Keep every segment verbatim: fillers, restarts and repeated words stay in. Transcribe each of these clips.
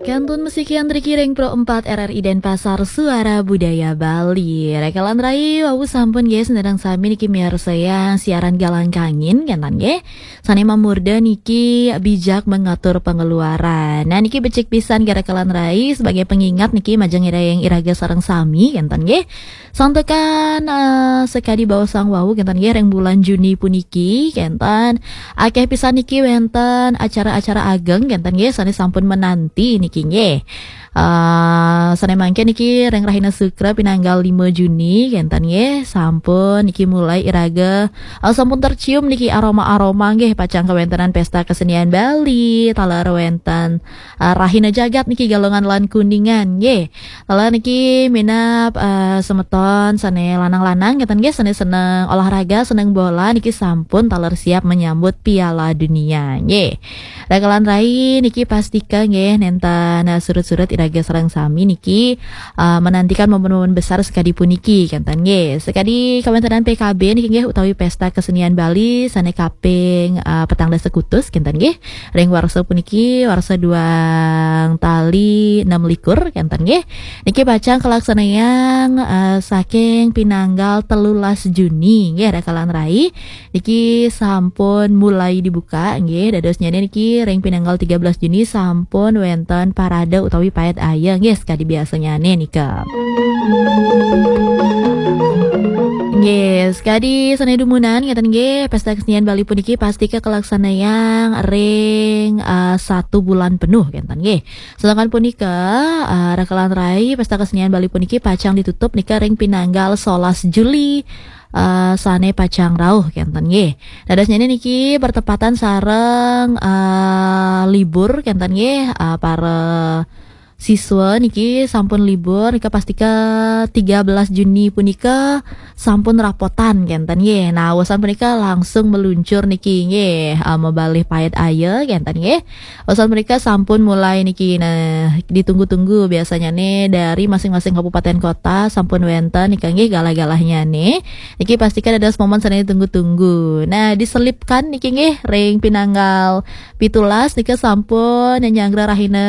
Kantun musik yang terakhir yang Pro empat R R I Denpasar, Suara Budaya Bali. Rakalan rai, wau sampun nggih, sareng sami niki miarsayang siaran Galang Kangin, kenten nggih. Sane mamurda niki bijak mengatur pengeluaran. Nah, niki becik pisan nggih rakalan rai, sebagai pengingat niki majeng ira-, yang iraga sareng sami, kenten nggih. Santukan, eh, sekadi baosang wau, kenten nggih, ring bulan Juni puniki, kenten akeh pisan niki wenten acara-acara ageng, kenten nggih, sane sampun menanti niki nggih. Eh, sane mangke niki ring rahina Sukra pinanggal lima Juni, kenten nggih, sampun niki mulai iraga, eh, sampun tercium niki aroma-aroma nggih pacang kawentenan pesta kesenian Bali, taler wenten, eh, rahina jagat niki Galungan lan Kuningan nggih. Taler niki minab, eh, semeton sane lanang-lanang, kenten nggih, sane seneng olahraga, seneng bola niki sampun taler siap menyambut Piala Dunia nggih. Rakalan rai, niki pastika nggih nenten, eh, surut-surut iraga sareng sami niki, eh, menantikan momen-momen besar sekadi puniki, kenten nggih. Sekadi kawentenan P K B niki nggih, utawi Pesta Kesenian Bali sane kaping, eh, petang dasa kutus, kenten nggih. Ring warsa puniki, warsa duang tali enam likur, kenten nggih. Niki pacang kalaksanayang, eh, saking pinanggal telulas Juni nggih, rakalan rai. Niki sampun mulai dibuka nggih, dadosnyane niki ring pinanggal tiga belas Juni sampun wenten parade utawi paet aya nggih, sekadi biasanyane nika. Nggih, sekadi sane dumunan ngeten nggih, Pesta Kesenian Bali puniki pastika kalaksanayang ring, eh, satu bulan penuh, kenten nggih. Sedangkan punika, eh, rakalan rai, Pesta Kesenian Bali puniki pacang ditutup nika ring pinanggal solas Juli, eh, sane pacang rauh, kenten nggih. Dadosnyane niki bertepatan sareng, eh, libur, kenten nggih, eh, para siswa niki sampun libur, nika pastika tiga belas Juni punika sampun rapotan, kenten nggih. Nah, usan punika langsung meluncur niki nggih, eh, mebalih paet aya, kenten nggih. Usan punika sampun mulai niki, nah, ditunggu-tunggu biasanyane dari masing-masing kabupaten kota sampun wenten nika nggih galah-galahnyane. Niki pastika dados momen sane ditunggu-tunggu. Nah, diselipkan niki nggih ring pinanggal pitulas nika sampun nyanggra rahina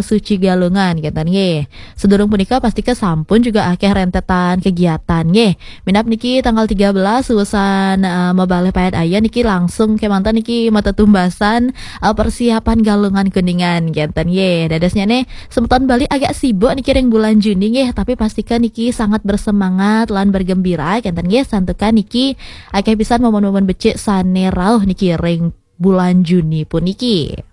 suci Galungan, kenten nggih. Sedurung punika pastika sampun juga akeh rentetan kegiatan nggih. Minab niki tanggal tiga belas usan, eh, mebalih paet aya niki langsung kemanten niki matetumbasan, eh, persiapan Galungan Kuningan, kenten nggih. Dadosnyane semeton Bali agak sibuk niki ring bulan Juni nggih, tapi pastika niki sangat bersemangat lan bergembira, kenten nggih, santukan niki akeh pisan momen-momen becik sane rauh niki ring bulan Juni puniki.